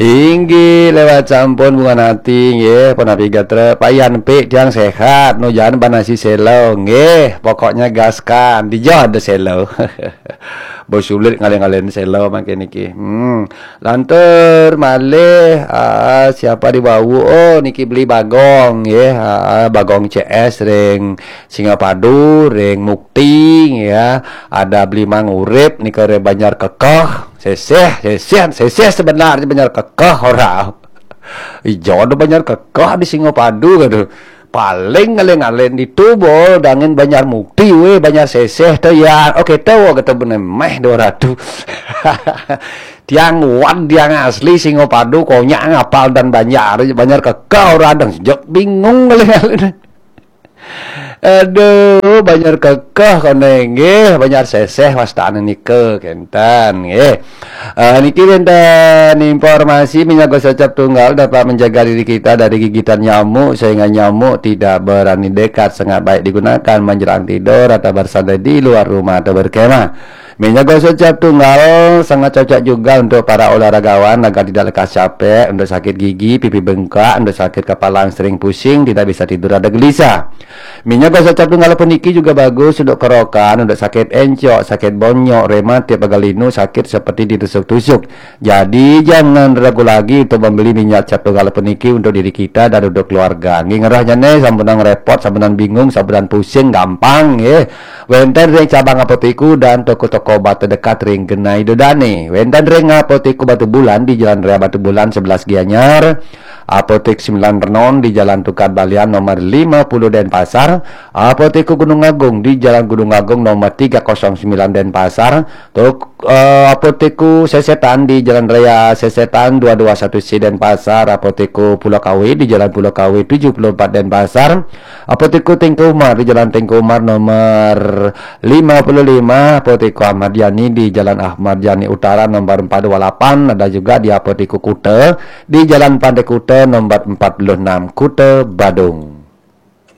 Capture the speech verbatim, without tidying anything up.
Inggih, lewat sampun bunga nati, nggih, punapi gatra. Payan pi tiang sehat, nu jan banasi selo, nggih, pokoknya gaskan, dija ada selo. Bos sulit ngalih-ngalihin selo makin niki. Hmm. Lantur malih, ah, siapa di bawah? Oh, niki beli Bagong, nggih. Ah, Bagong C S ring Singapadu, ring Mukti, ya. Ada beli Mang Urip, nika ring Banjar Kekeh. Seseh, seseh, seseh sebenarnya Banjar Kekeh ora. Ijo ada Banjar Kekeh di Singapadu gitu. Paling ngalih-ngalih itu bol dangin Banjar Mukti weh, Banjar Seseh tu ya. Oke, tahu kata bener meh dua ratus. Tiang wan, tiang asli Singapadu, konyak ngapal dan Banjar, Banjar Kekeh ora dang sejak bingung ngalih-ngalih. Aduh, Banjar Kekeh kono nggih, Banjar Seseh wastane nika kenten nggih. Eh, niki wenten informasi minyak gosok cap tunggal dapat menjaga diri kita dari gigitan nyamuk sehingga nyamuk tidak berani dekat, sangat baik digunakan menjelang tidur atau bersantai di luar rumah atau berkemah. Minyak gosok cap tunggal sangat cocok juga untuk para olahragawan agar tidak lekas capek, untuk sakit gigi, pipi bengkak, untuk sakit kepala yang sering pusing, tidak bisa tidur ada gelisah. Minyak gosok cap tunggal puniki juga bagus untuk kerokan, untuk sakit encok, sakit bonyok, rematik, pegal linu, sakit seperti ditusuk-tusuk. Jadi jangan ragu lagi untuk membeli minyak cap tunggal puniki untuk diri kita dan untuk keluarga. Nggih, ngerah jane sampunang repot, sampunang bingung, sampunang pusing gampang nggih. Wenten ring cabang Apotiku dan toko-toko obat terdekat ring Genai Dodane. Wenten ring Apotiku Batu Bulan di Jalan Raya Batu Bulan sebelas Gianyar. Apotek Sembilan Renon di Jalan Tukad Balian nomor lima puluh Denpasar, Apotek Gunung Agung di Jalan Gunung Agung nomor tiga kosong sembilan Denpasar, Tok, eh, Apotek Sesetan di Jalan Raya Sesetan dua dua satu C Denpasar, Apotek Pulau Kawe di Jalan Pulau Kawe tujuh puluh empat Denpasar, Apotek Tengku Umar di Jalan Tengku Umar nomor lima puluh lima, Apotek Ahmad Yani di Jalan Ahmad Yani Utara nomor empat dua lapan, ada juga di Apotek Kuta di Jalan Pantai Kuta nomor empat puluh enam, Kuta Badung.